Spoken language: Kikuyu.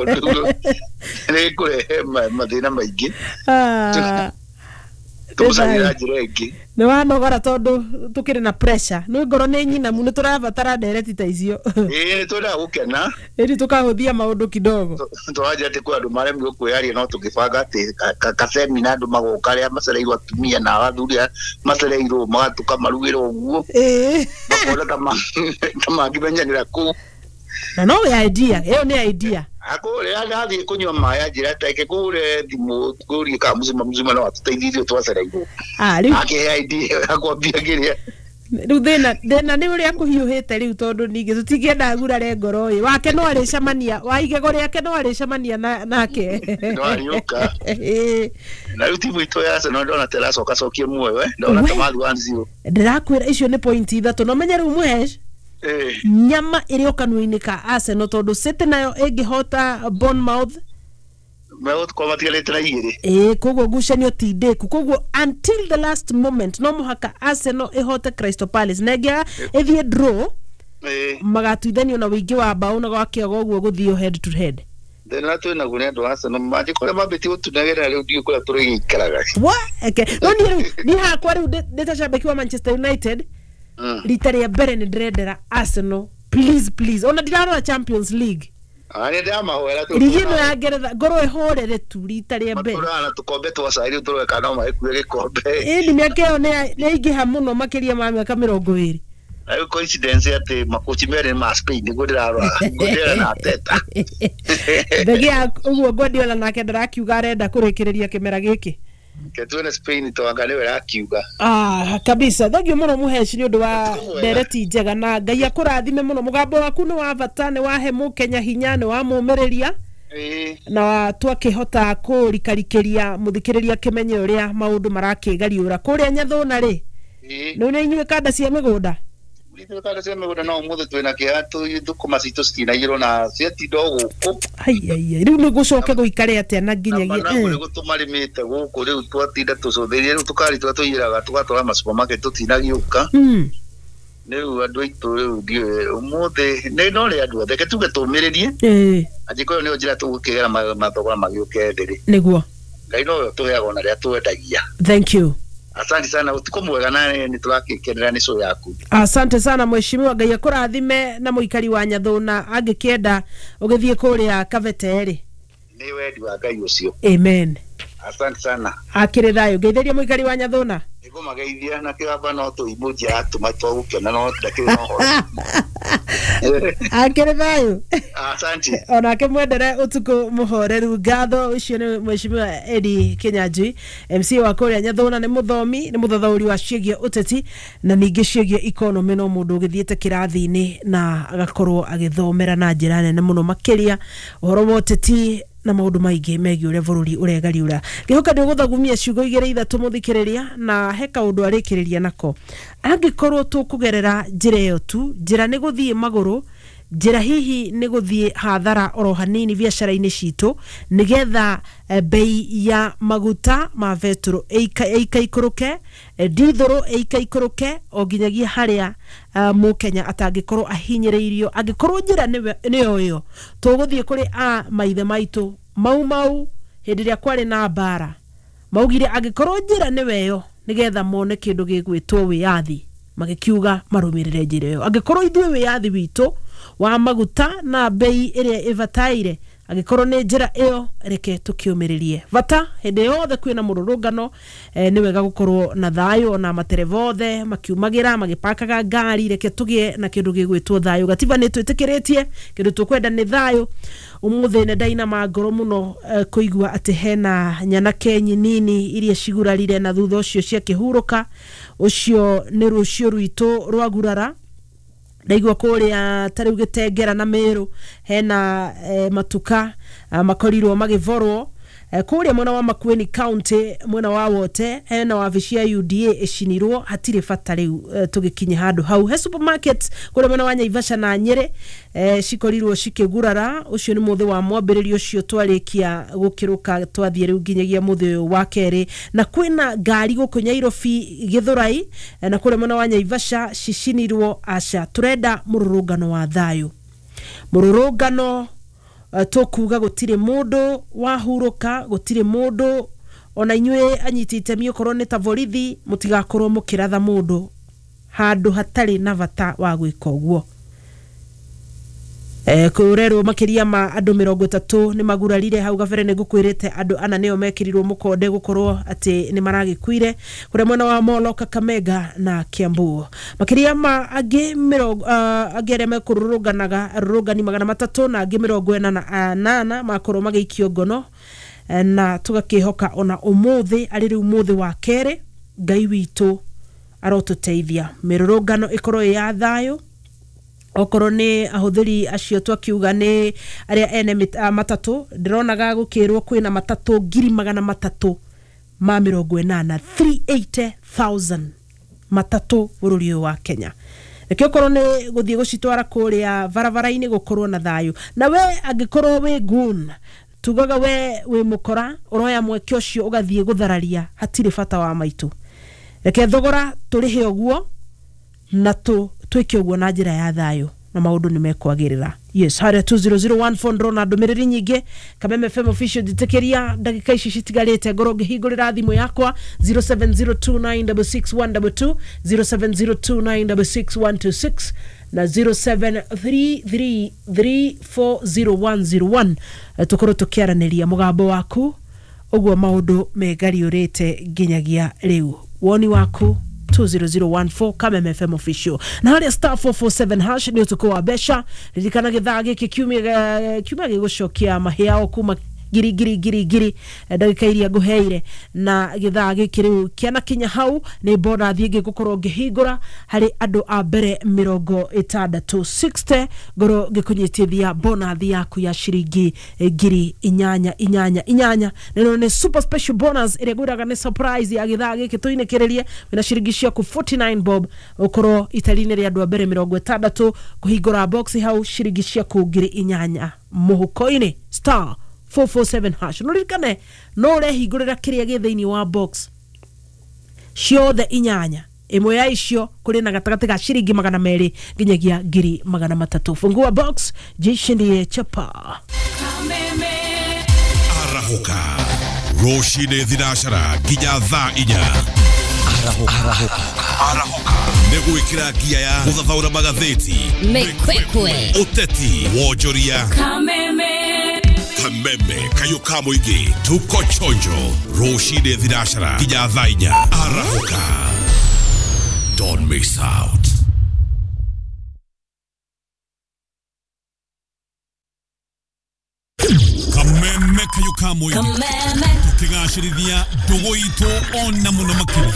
Tondũ nĩ kũrehe mathĩna maingĩ. Tũmũcarĩra njĩra ĩngĩ. Nĩ wanogora tondũ tũkĩrĩ na pressure, nĩ ngoro nĩ nyinamu, nĩ tũrabatara ndereti ta icio. Ĩĩ, nĩ twendaga gũkena. Ĩni tũkahũthia maũndũ kidogo. Tũranjia atĩ kwĩ andũ maremirwo kwĩyaria, no tũngĩbanga atĩ kasemina andũ magoka, arĩa macereirwo atumia na athuri arĩa macereirwo, tũkamarugĩra ũguo. Makona ta mangĩmenyanĩra kũu. Na no idea ĩyo nĩ idea. Akũrĩa ndathiĩ kũnyua maĩ, anjĩra take kũre thimũ ngũrie kana mũcima mũcima no atũteithirie twacereirwo. Ah, rĩu akĩhe idea ya kwambia kĩrĩa. Rĩu thĩna nĩ ũrĩa kũhiũhĩte rĩu, tondũ ningĩ tũtingĩenda agurare ngoro ĩ wake, no arĩcemania wa igego rĩake, no arĩcemania nake. No arĩũka. Na rĩu timu itũ ya Arsenal ndona ta ĩracoka cokie muoyo, ndona ta mathi 1-0. Ndĩrakwĩra icio nĩ point 3, no menye rĩu mũhesh nyama ĩrĩ o kanua-inĩ ka Arsenal, tondũ City nayo ĩngĩhota Bournemouth. Megũkorwo matigarĩte na 2. Ĩĩ, koguo ngucanio ti ndĩku, koguo until the last moment no mũhaka Arsenal ĩhote Crystal Palace, na ĩngĩaga ĩthiĩ draw, magatuithanio na ũingĩ wa mbaũ na gwakĩaga ũguo gũthiĩ head to head. Thĩna twĩ naguo nĩ andũ a Arsenal mangĩkorwo mambĩtie gũtunagĩrĩra rĩu, ndiũĩ kũrĩa tũrĩgĩikaraga. Wa eke no niĩ rĩu niĩ hakwa rĩu ndĩ ta shabiki wa Manchester United, rita rĩa mbere nĩ ndĩrendera Arsenal, please please, ona ndirarora Champions League. Nĩ ndĩramahoera tu. Rigi ĩno ya Ngeretha ngorwo ĩhorere tu rita rĩa mbere. Matũraga na tũkombe twa cai, rĩu tũroe kana no magĩkue gĩkombe. Ĩni mĩaka ĩyo nĩ yaingĩha mũno, makĩria ma mĩaka 20. Na rĩu coincidence atĩ makochi merĩ nĩ ma Spain, nĩguo ndĩrarora Guardiola na Arteta. Thengia ũguo Guardiola nake ndarakiuga arenda kũrĩkĩrĩria kĩmera gĩkĩ. Ke tuone Spain, twanga nĩwe ĩrakiuga. Ah, kabisa, thank you mũno mũheci nĩ ũndũ wa Ũtukũ mwega. ndereti njega, na Ngai akũrathime mũno. Mũgambo waku nĩ wa bata, nĩ wahe mũkenya hinya, nĩ wamũmĩrĩria na twakĩhota kũrikarikĩria mũthikĩrĩria kĩmenye ũrĩa maũndũ marakĩgariũra kũrĩa Nyathũna rĩ. Nĩ nĩ inyuĩ kanda cia mĩgũnda. Ithuĩ kanda cia mĩgũnda, no ũmũthĩ twĩna kĩeha, thũkũma citũ citinaiyĩrwo na ciatinda o gũkũ. Ai ai ai, rĩu nĩ gũcoke gũikare atĩa na na nginyagia managu nĩ gũtũmarĩmĩte gũkũ, rĩu twatinda tũcũthĩrĩrie, rĩu tũkari tũrĩa tũiyĩraga tũgatwara ma supermarket tũtinagĩũka. Rĩu andũ aitũ rĩu ndiũĩ ũmũthĩ nĩ no rĩ andũ othe ke tuge tũmĩrĩrie, angĩkorwo nĩyo njĩra tũgũkĩgera mathogora magĩũke thĩ rĩ. Nĩguo. Ngai nowe ũtũheaga ona rĩrĩa twendagia. Thank you. Asante sana, ũtukũ mwega, na nĩ tũrakĩkenera nĩ show yaku. Asante sana mheshimiwa, Ngai akũrathime. Na mũikari wa Nyathũna angĩkĩenda ũgĩthiĩ kũrĩa Kabete rĩ. Nĩ wendi wa Ngai ũcio. Amen. Asante sana. Akĩrĩ thayũ, ngeithĩria mũikari wa Nyathũna. Nĩngũmageithia na kĩgamba, no tũimunji atũma twagũkena, no ndakĩrĩ na ũhoro. Akĩrĩ thayũ. Asante. Onake mwendere ũtukũ mũhoreru. Ngatho. Ũcio nĩ mheshimiwa Eddie Kinyanjui, MC wa kũrĩa Nyathũna, nĩ mũthomi, nĩ mũthathaũri wa ciĩgiĩ ũteti na ningĩ ciĩgiĩ economy, no mũndũ ũgĩthiĩte kĩrathi-inĩ na agakorwo agĩthomera na njĩra nene mũno makĩria ũhoro wa ũteti na maũndũ maingĩ megiĩ ũrĩa bũrũri ũregariũra. Ngĩhoka nĩ ũgũthagumia ciugo igĩrĩ ithatũ mũthikĩrĩria, na he kaũndũ arĩkĩrĩria nako. Angĩkorwo tũkũgerera njĩra ĩyo tu, njĩra nĩ gũthiĩ magũrũ, njĩra hihi nĩ gũthiĩ hathara oro hanini biacara-inĩ citũ, nĩgetha bei ya maguta ma betũrũ ĩikaikũrũke, ndithũrũ ĩikaikũrũke o nginyagia harĩa mũkenya atangĩkorwo ahinyĩrĩirio. Angĩkorwo njĩra nĩyo ĩyo tũgũthiĩ kũrĩ a maithe maitũ mau mau hĩndĩ ĩrĩa kwarĩ na mbara, maugire angĩkorwo njĩra nĩwe ĩyo nĩgetha mone kĩndũ gĩgwĩtwo wĩyathi, magĩkiuga marũmĩrĩre njĩra ĩyo. Angĩkorwo ithuĩ wĩyathi witũ wa maguta na bei ĩrĩa ĩbataire angĩkorwo nĩ njĩra ĩyo, reke tũkĩũmĩrĩrie bata. Hĩndĩ yothe kwĩna mũrũrũngano, nĩ wega gũkorwo na thayũ, ona matereba othe makiumagĩra magĩpakaga ngari, reke tũgĩe na kĩndũ gĩgwĩtwo thayũ. Gatiba nĩ twĩtĩkĩrĩtie, kĩndũ tũkwenda nĩ thayũ. Ũmũthĩ nĩ ndainama ngoro mũno, kũigua atĩ hena nyanake nyinini iria cigurarire na thutha ũcio ciakĩhurũka. Ũcio nĩ rũciũ rwitũ rwagurara. Ndaigua kũrĩa ta rĩu Gĩtengera na Mĩrũ hena matuka makorirwo magĩborwo. Kũrĩa mwena wa Makueni County, mwena wa Wote, hena wabici ya UDA ĩcinirwo. Hatirĩ bata rĩu tũgĩkinye handũ hau. He supermarket kũrĩa mwena wa Naivasha na Nyĩrĩ cikorirwo cikĩgurara. Ũcio nĩ mũthĩ wa mwambĩrĩrio ũcio twarĩkia gũkĩrũka, twathiĩ rĩu nginyagia mũthĩ ũyũ wa kerĩ. Na kwĩna ngari gũkũ Nyairobi Gĩthũrai na kũrĩa mwena wa Naivasha cicinirwo. Aca, tũrenda mũrũrũngano wa thayũ, mũrũrũngano. Tũkuga gũtirĩ mũndũ wahurũka, gũtirĩ mũndũ ona inyuĩ anyiti itemi okorwo nĩ ta borithi mũtigakorwo mũkĩratha mũndũ handũ hatarĩ na bata wa gwĩka ũguo. Kũrerwo makĩria ma andũ 30 nĩ magurarire hau gabere. Nĩ ngũkwĩrĩte andũ ana nĩo mekĩrirwo mũkonde gũkorwo atĩ nĩ maragĩkuire kũrĩa mwena wa Molo, Kakamega na Kiambu. Makĩria ma angĩ mĩrongo angĩ arĩa mekũrũrũnganaga, arũrũngani 300 na angĩ 48 makorwo magĩikio ngono. Na tũgakĩhoka ona ũmũthĩ arĩ rĩu mũthĩ wa kerĩ, Ngai witũ arotũteithia mĩrũrũngano ĩkorwo ĩ ya thayũ. Okorwo nĩ ahũthĩri acio twakiuga nĩ arĩa ene matatũ, ndĩronaga gũkĩrwo kwĩna matatũ 380,000, 380,000 matatũ bũrũri ũyũ wa Kenya. Reke okorwo nĩ gũthiĩ gũcitwara kũrĩa barabara-inĩ gũkorwo na thayũ. Na we angĩkorwo wĩ gun, tugaga we wĩ mũkora ũroya mweke ũcio ũgathiĩ gũthararia, hatirĩ bata wa maitũ. Reke thogora tũrĩhe ũguo na twĩke ũguo na njĩra ya thayũ na maũndũ nĩ mekwagĩrĩra. Yes, harĩa 20014 ndĩrona ndũmĩrĩri nyingĩ. Kameme FM official, njĩtĩkĩria ndagĩka ici citigarĩte ngorwo ngĩhingũrĩra thimũ yakwa 0702966122, 0702966126 na 0733340101. Tũkorwo tũkĩaranĩria mũgambo waku ũguo maũndũ megariũrĩte nginyagia rĩu, woni waku 20014, Kameme FM official. Na harĩa star 447 hash nĩ ũtukũ wa mbeca. Ririkana gĩthaa gĩkĩ kiumia gĩgũcokia mahĩao kuma ngiri ngiri ngiri ngiri, ndagĩka iria ngũheire na gĩthaa gĩkĩ rĩu kĩanakinya hau nĩ bonathi ĩngĩ ngũkorwo ngĩhingũra harĩ andũ a mbere 60, 60, ngorwo ngĩkũnyitithia bonathi yaku ya ciringi 8,000 8 8. Nĩno nĩ super special bonus ĩrĩa ngwĩraga nĩ surprise ya gĩthaa gĩkĩ tũinĩkĩrĩrie. Wĩna ciringi ciaku 49 bob, ũkorwo itari-inĩ rĩa andũ a mbere 60 kũhingũra box hau, ciringi ciaku 8,000 mũhuko-inĩ, star 447 hash. No ririkane no ũrehingũrĩra kĩrĩa gĩ thĩinĩ wa box ciothe inyanya, ĩmwe ya icio kũrĩ na gatagatĩ ga ciringi 200 nginyagia 300,000. Fungua box, jishindie chapa. Arahũka rũcinĩ thinacara nginya thaa 4. Arahũka nĩ gwĩkĩra ngia ya gũthathaũra magathĩti, Mekwekwe, ũteti, wonjoria. Kameme kayũ ka mũingĩ, tuko chonjo rũcinĩ thinacara nginya thaa 4. Arahũka, don't miss out. Kameme kayũ ka mũingĩ, Kameme, tũkĩgacĩrithia ndũgũ itũ ona mũno makĩria.